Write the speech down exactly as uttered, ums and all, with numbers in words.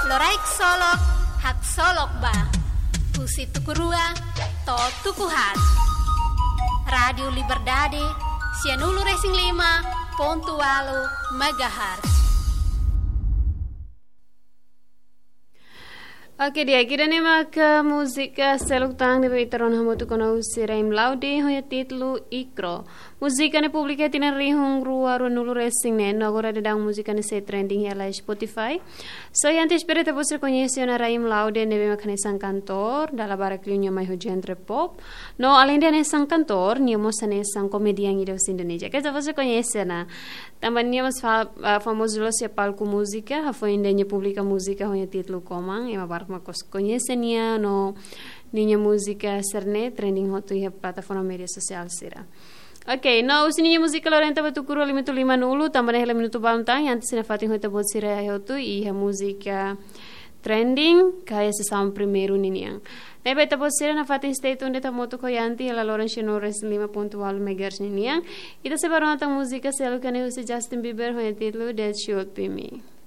Loraik solok, haksolok ba. Husi tuku rua to'o tuku haat. Rádiu Liberdade, sianulu-resin-lima pontu ualu megahertz. Oke, di'ak, ida-ne'e mak múzika seluk tan ne'ebé ita rona hamutuk ona husi Raim Laude, ho nia títulu Ikro. Múzika ne'e publika iha tinan rihun rua ruanulu-resin-neen, no agora daudaun múzika ne'e sei trending iha Spotify. So, antes, espera ita-boot sira koñese ona Raim Laude ne'ebé mak hanesan kantór, dala barak liu nia mai ho genre pop. No, aleinde hanesan kantór, nia mós hanesan komedian ida husi Indonézia. Ke ita-boot sira koñese ona. Tanba nia mós fa-, ah, famozu loos iha palku múzika, hafoin ida nia publika múzika ho nia títulu Komang, ema barak mak kos-, koñese nia no ninia múzika sira-ne'e trending hotu iha plataforma média sosiál sira. Oke, no husi ninia múzika lorenta ba tuku rua lima-nulu, tanba ne'e hela minutu balun tan, i antes nafatin ho ita-boot sira hotu iha múzika trending, ka iha sesaun primeiru ninian. Ne'ebé ita-boot sira nafatin stay tuned de'it hamutuk ho Yanti, hela loron sianulu-resin-lima pontu ualu megahertz ninian. Ita sei bá rona tan múzika seluk ne'e husi Justin Bieber ho nia títulu That Should Be Me.